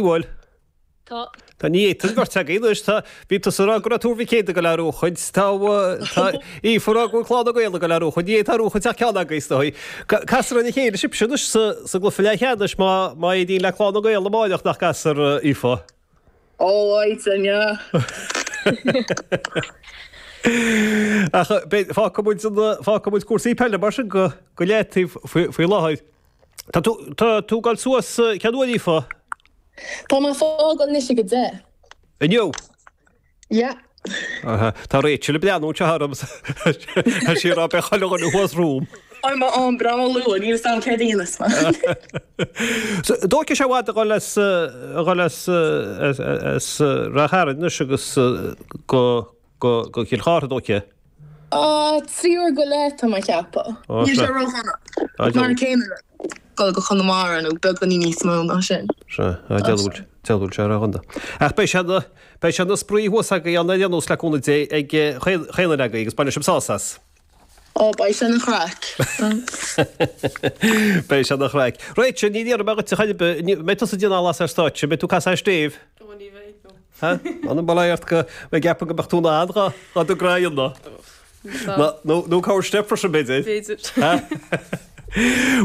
Bhfuil? Tá. Tá, ní fhéadfainn an bheirt agaibh anois, tá, bhí tusa ag rá go raibh Tuar Mhic Éadaigh ag dul a bhuachaint, tá, tá Aoife ag rá go bhfuil Clann na nGael ag dul a bhuachaint, ní fhéadfá buachaint ach ceann agaibh is dóigh. Casfar ar a chéile sibhse anois sa, sa gcluiche leathcheannais má, má éiríonn le Clann na nGael amáireach, nach gcasfar, Aoife? Ó, right, then, yeah. Ach beidh, fágfaidh muid an, fágfaidh muid cúrsaí peile mar sin go, go leataobh faoi, faoi láthair. Tá tú, tá tú ag dul suas cén uair, Aoife? Tá mé ag fágáil anois ag 10. Inniu? Yeah. Aha. Tá Rachel ag breathnú anseo orm. Tá sí ag rá beidh chuile dhuine thuas romham. I'm on breá luath, níl 'fhios a'm céard a dhéanfas mé. So, an dtógfaidh sé i bhfad a dhul as, a dhul as, as, as Ráth Chairn anois agus go, Go Cill Chartha, dóiche? Á, 3 uair go leith, tá mé ag ceapadh. Níl sé ródhona. Mar an gcéanna le dul go Conamara nó beagáinín níos mó ná sin. Sea, d'fhéadfadh d'fhéadfadh sé ródhona. Ach beidh sé ina, beidh sé ina spraoi thuas agaibh ann ar aon nós le cúnamh Dé ag chaon duine agaibh agus bainfidh sibh sásamh as. Ó, beidh sé ina chraic. Beidh sé ina chraic. Rachel, ní déarfaidh mé dhuit a chor ar bith, mbeidh tusa ag déanamh allas ar stáitse, mbeidh tú ag casadh ar stéibh? Ó, ní bheidh, no. Ha? An bhfuil ort go mbeidh gceapann go mbeadh tú in ann dhá do grá a dhéanamh? Nó, nó, nó cabhair step freisin, b'fhéidir. B'fhéidir. Ha?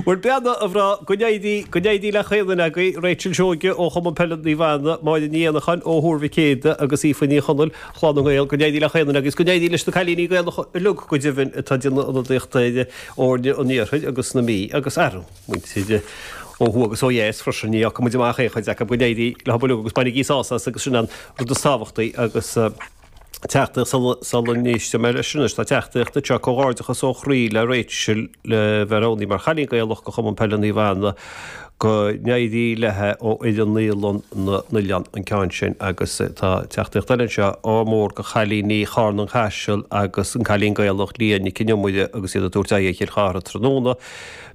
Bhuel, breathnaigh, a mhná, go n-éirí, go n-éirí le chaon duine agaibh, Rachel Seoige ó Chumann Peile Naomh Anna, Máire Ní Éanacháin ó Thuar Mhic Éadaigh agus Aoife Ní Chonaill, Chlann na nGael, go n-éirí le chaon duine agaibh agus go n-éirí leis na cailíní Gaelacha uilig go deimhin atá ag déanamh ionadaíochta ar fhoirne an Iarthair agus na Mí agus ar mhuintir ó thuaidh agus ó dheas freisin, ní fhágfaidh muid amach aon chuid acu, go n-éirí leo uilig agus bainigí sásamh as agus sin an rud is tábhachtaí agus teachtaireacht sula n-éistfidh mé leis anois, tá teachtaireacht anseo, comhghairdeachas ó chroí le Rachel le bheith roghnaithe mar chailín Gaelach do Chumann Peile Naomh Anna, go n-éirí léi ó fhoireann Naíolann na nOileán an ceann sin agus tá teachtaireacht eile anseo, ádh mór do chailíní Charn an Chaisil agus an cailín Gaelach Lia Nic an Iomaire agus iad ag tabhairt aghaidh ar Chill Chartha tráthnóna.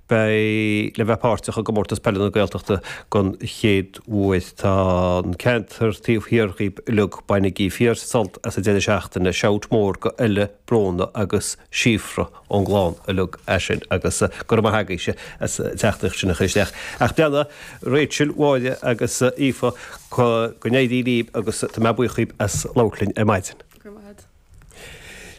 Beidh le bheith páirteach i gComórtas Peile na Gaeltachta don chéad uair. Tá an ceantar taobh thiar dhíob uilig, bainigí fíor sult as an deireadh seachtaine, shout mór go Ella, Bróna agus Síofra ón gclann uilig é sin agus go raibh maith agaibhse as an teachtaireacht sin a chur isteach. Ach breathnaigh, Rachel, Mháire agus Aoife, go n-éirí libh agus tá mé buíoch dhíbh as labhairt linn ar maidin. Go raibh maith agat.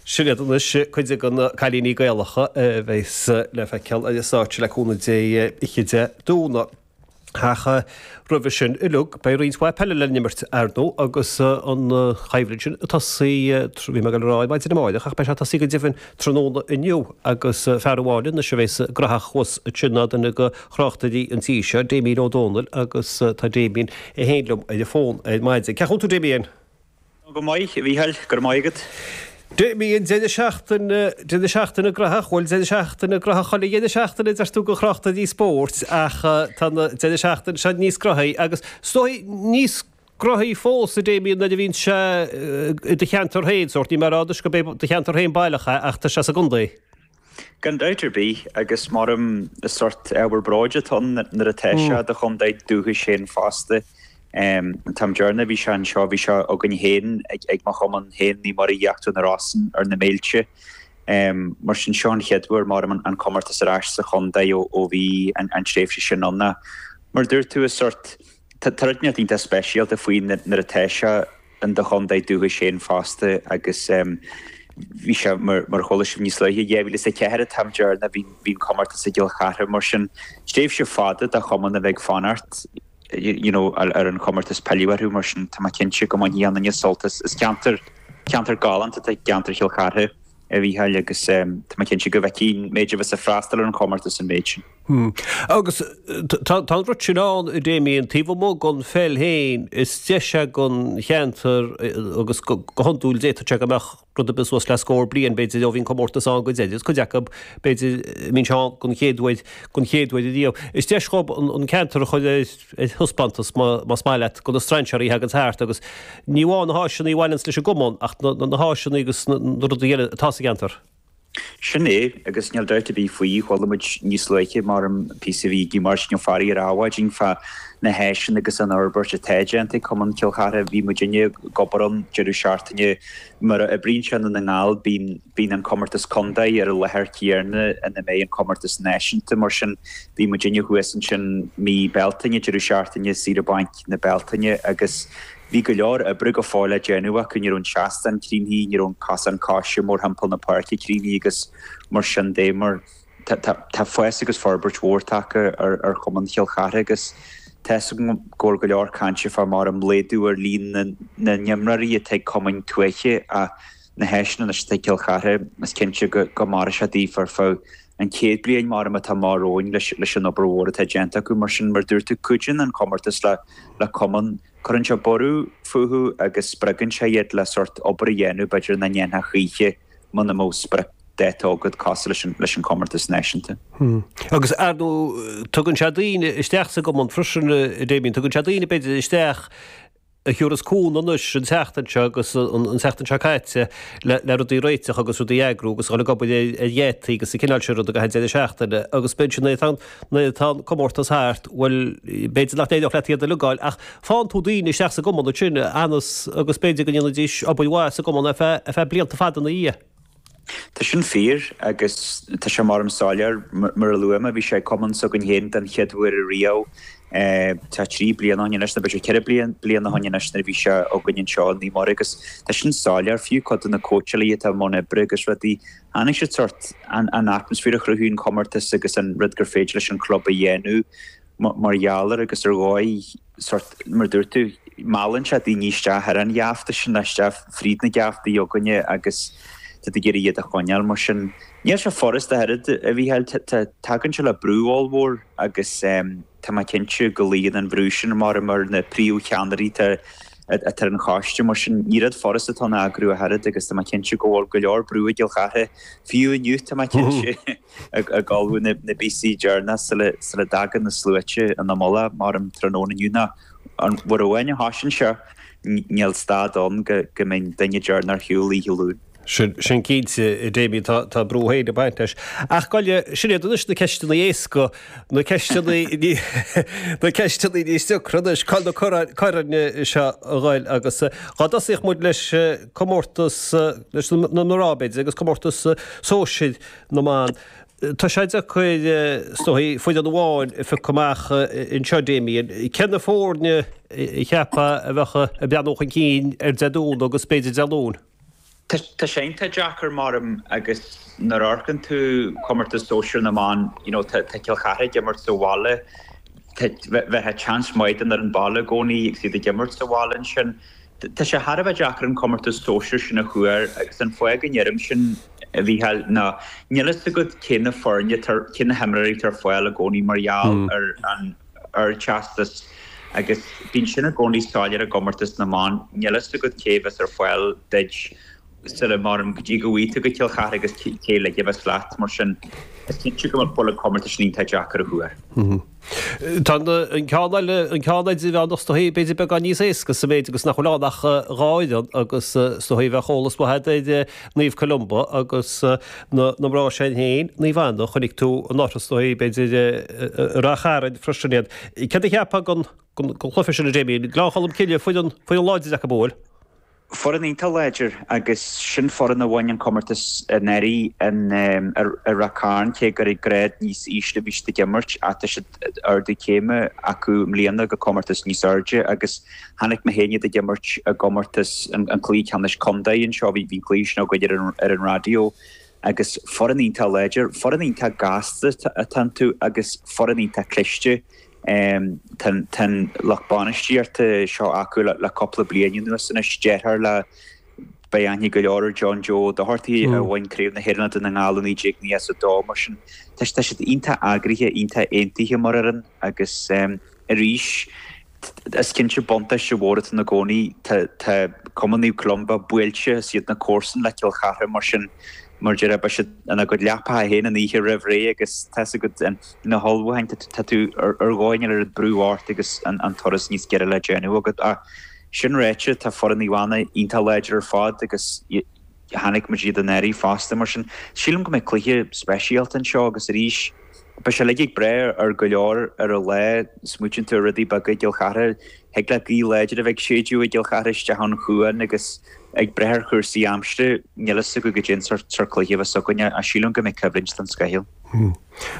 Sin iad anois cuid de na cailíní Gaelacha a bheas le feiceáil ar an stáitse le cúnamh Dé oíche Dé Domhnaigh. Ach roimhe sin uilig, beidh roinnt mhaith peile le n-imirt, ar ndóigh, agus an choimhlint sin ag tosaí, bhí mé ag dul a rá ar maidin amáireach, ach beidh sé ag tosaí go deimhin tráthnóna inniu agus fear amháin anois a bheas graitheach thuas ansin ná duine de thráchtairí an tí seo, Damien Ó Dónaill, agus tá Damien é féin liom ar an bhfón ar maidin. Cén chaoi a bhfuil tú, Damien? Go maith, a Mhícheáil, go raibh maith agat. Damien, deireadh seachtaine, deireadh seachtaine graitheach, bhuel deireadh seachtaine graitheach chuile dheireadh seachtaine deir tú do thráchtairí spóirt ach tá an deireadh seachtaine seo níos graithí agus is dóigh níos graithí fós a Damien nuair a bhíonn sé i do cheantar féin, sórt, níl mé ag rá anois gurb é do cheantar féin baileach é ach tá sé sa gcontae. Gan dabht ar bith, agus maram is sórt ábhar bróid atá ann nuair atá sé i do chontae dúchais féin fosta. An t-am deireanach a bhí sé anseo, bhí sé againn féin ag mo chumann féin, Naomh Muire Íochtar na Rosann, ar na Méilte. Mar sin, seo an chéad uair, maram, an comórtas ar ais sa chontae ó bhí an tréimhse sin ann. Mar a dúirt tú, is sórt, tá rud inteacht iontach speisialta faoi nuair atá sé in do chontae dúchais féin fosta agus bhí sé, mar a chuala sibh níos luaithe, 2004 an t-am deireanach bhí an comórtas i gCill Chartha mar sin tréimhse fada do chumann a bheith ag fanacht you know ar an chomórtas pilleadh orthu mar sin tá mé cinnte go mbainfidh an duine sult as. Is ceantar, ceantar galánta atá i gceantar Chill Chartha a Mhícheáil agus tá mé cinnte go bhfeicfidh an méid a bheas ag freastal ar an chomórtas an méid sin. Agus tá an rud sin ann, a Damien, taobh amuigh den pheil féin, is deis é don cheantar agus go hiondúil d'fhéadfadh sé go mbeadh rud ar bith suas le scór bliain, b'fhéidir, ó bhí an comórtas ann go deireadh, is cuid acu, b'fhéidir, a mbíonn sé ann don chéad uair, don chéad uair ariamh. Is deis dhóibh an ceantar a chur ar thaispeántas, más maith leat, do na strainséirí a thaganns thart agus ní amháin na háiseanna a bhaineanns leis an gcumann ach na háiseanna agus na rudaí eile atá sa gceantar. Sin é, agus níl dabht ar bith faoi, chuala muid níos luaithe mar an píosa a bhí ag Máirtín Ó Fearraigh ar Adhmhaidin fá. na háiseanna agus an fhorbairt atá déanta ag Cumann Chill Chartha. Bhí muidinne ag obair ann deireadh seachtaine. Mar a oibríonn sé i nDún na nGall, bíonn bíonn an comórtas contae ar an láthair chéanna ina mbeidh an comórtas náisiúnta. Mar sin, bhí muidinne thuas ansin mí Bealtaine, deireadh seachtaine saoire bainc na Bealtaine agus bhí go leor oibre go fóill le déanamh acu. Ní raibh an seastán críochnaithe, ní raibh an cosán coise mórthimpeall na páirce críochnaithe agus mar sin de. Mar tá fás agus forbairt mhór tagtha ar Chumann Chill Chartha agus tá 'fhios agam go bhfuil go leor cainte fá mar an laghdú ar líon na n-imreoirí atá ag cumainn tuaithe ach na háiseanna anois atá ag Cill Chartha, is cinnte go mairfidh sé daofa ar feadh an chéad bliain mar atá amach romhainn leis an obair mhór atá déanta acu. Mar sin, mar a dúirt tú, cuidíonn an comórtas le cumann, cuireann sé borradh fúthu agus spreagann sé iad le sórt obair a dhéanamh b'fhéidir nach ndéanfá choíche muna mbeadh spriocdháta agat cosúil leis an chomórtas náisiúnta. Agus, ar ndóigh, tugann sé daoine isteach sa gcumann freisin, a Damien, tugann sé daoine, b'fhéidir, isteach a thiúrfas cúnamh anois an tseachtain seo agus an tseachtain seo caite le rudaí a réiteach agus rudaí a eagrú agus a dhul ag obair ar gheataí agus an cineál sin ruda go deireadh seachtaine agus b'fhéidir nuair atá nuair atá an comórtas thart, bhuel, b'fhéidir nach n-éireodh leat iad uilig a fháil ach faigheann tú daoine isteach sa gcumann ansin anas agus b'fhéidir go ndéanfaidís obair mhaith sa gcumann ar feadh ar feadh blianta fada ina dhiaidh. Tá sin fíor agus tá sé mar am soiléir, mar a luaigh mé, bhí sé ag cumann s'againn féin den chéad uair ariamh tá 3 bliana ó shin anois, nó b'fhéidir 4 bliana ó shin anois nuair a bhí sé againn anseo i Naomh Muire agus tá sin soiléir, fiú cuid de na cóitseálaithe atá i mbun oibre agus rudaí, chonaic siad sórt an atmaisféar a chruthaíonn comórtas agus an rud gur féidir leis an chlub a dhéanamh mar gheall air agus ar dhóigh sórt, mar a dúirt tú, meallann sé daoine isteach ar an gheafta sin, isteach fríd na geaftaí againne agus tá tú ag iarraidh iad a choinneáil mar sin. Níl sé furasta ach oiread, a Mhícheáil, tagann sé le brú ollmhór agus tá mé cinnte go luíonn an bhrú sin mar ar na príomhcheannairí atá atá ar an choiste mar sin. Ní rud furasta atá ann a eagrú ach oiread agus tá mé cinnte go bhfuil go leor brú ag Cill Chartha, fiú inniu tá mé cinnte. ag ullmhú na bpíosaí deireanacha sula dtagann na sluaite ina mullach mar an tráthnóna inniu ná an uair amháin a thosaíonn sé, níl stad ann go mbeidh an duine deireanach ar shiúl oíche Luain. Sin cinnte, a Damien, tá brú féin ag baint leis. Ach gabhaile, sin iad anois na ceisteanna éasca, na ceisteanna na ceisteanna níos deacra anois, cá na coirn seo a ghoil agus dhá dtosaíodh muid leis comórtas, leis na mná b'fhéidir, agus comórtas sóisir na mban. Tá sé deacair, is dóigh, foireann amháin a phiocadh amach anseo, Damien. Cé na foirne a cheapfá a bheadh ag breathnú chun cinn ar Dé Domhnaigh agus b'fhéidir Dé Luain? Tá sé iontach deacair, maram, agus nuair a amharcann tú comórtas sóisir na mban, you know, tá Cill Chartha ag imirt sa bhaile, bheadh seans maith don fhoireann baile i gcónaí agus iad ag imirt sa bhaile ansin. Tá sé thar a bheith deacair an comórtas sóisir sin a thuar agus an fáth go ndeirim sin, a Mhícheáil, ná níl fhios agat cé na foirne, cé na himreoirí atá ar fáil i gcónaí mar gheall ar an ardteastas agus bíonn sin i gcónaí soiléir i gcomórtas na mban, níl fhios agat cé a bheas ar fáil duit sula maram go dtí go bhfaighidh tú go Cill Chartha agus cé uilig a bheas leat. Mar sin, is cinnte go bhfuil an comórtas sin iontach deacair a thuar. Tá an ceann eile, an ceann idirmheánach is dóigh, b'fhéidir beagán níos éasca sa mhéid agus nach bhfuil ann ach dhá fhoireann agus is dóigh bheadh eolas maith agat ar Naomh Columba agus na mná sin féin, Naomh Anna, chonaic tú anuraidh is dóigh, b'fhéidir i Rath Chairn freisin iad. Céard a cheapfá den chluiche sin a Damien? Gleann Cholm Cille, foireann láidir acu, an bhfuil? Foireann iontach láidir agus sin foireann a bhain an comórtas anuraidh i Rath Cairn, cé gur ag grád níos ísle a bhí siad ag imirt ach tá siad ardú céime acu i mbliana go comórtas níos airde agus chonaic mé féin iad ag imirt i gcomórtas an cluiche ceannais contae anseo, bhí an cluiche sin againn ar an raidió agus foireann iontach láidir, foireann iontach gasta atá iontu agus foireann iontach cliste. Tá an lucht bainistíochta seo acu le cúpla bliain anuas anois, deartháir le, beidh aithne go leor ar John Joe Ó Dochartaigh a bhain Craobh na hÉireann le Dún na nGall i 1992. Mar sin, tá siad iontach eagraithe, iontach aontaithe mar fhoireann agus arís, Is cinnte buntáiste mhór atá ann i gcónaí. Tá Cumann Naomh Columba buailte, is iad na comharsana le Cill Chartha mar sin, mar a déarfá, beidh siad ina gcuid leapacha féin an oíche roimh ré agus tá's agat na hullmhúcháin, tá tú ar dhóigh níl oiread brú ort agus an turas níos giorra le déanamh agat. Ach sin ráite, tá foireann Naomh Anna iontach láidir ar fad agus chonaic muid iad anuraidh fosta mar sin sílim go mbeidh cluiche speisialta anseo agus arís. Beidh sé uilig ag breith ar go leor ar an lá, smaoitíonn tú ar rudaí beaga i gCill Chartha, thig le gaoth láidir a bheith ag séideadh i gCill Chartha isteach ón chuan agus ag breith ar chúrsaí aimsire, níl fhios agam goidé an sórt cluiche a bheas againn ach sílim go mbeidh coimhlint den scoth ann.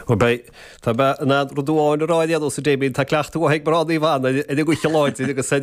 Bhuel beidh. Tá mé in ann rud amháin a rá ar aon nós a Damien, tá cleachtadh mhaith ag mná Naomh Anna ar an ngaoth láidir agus ar.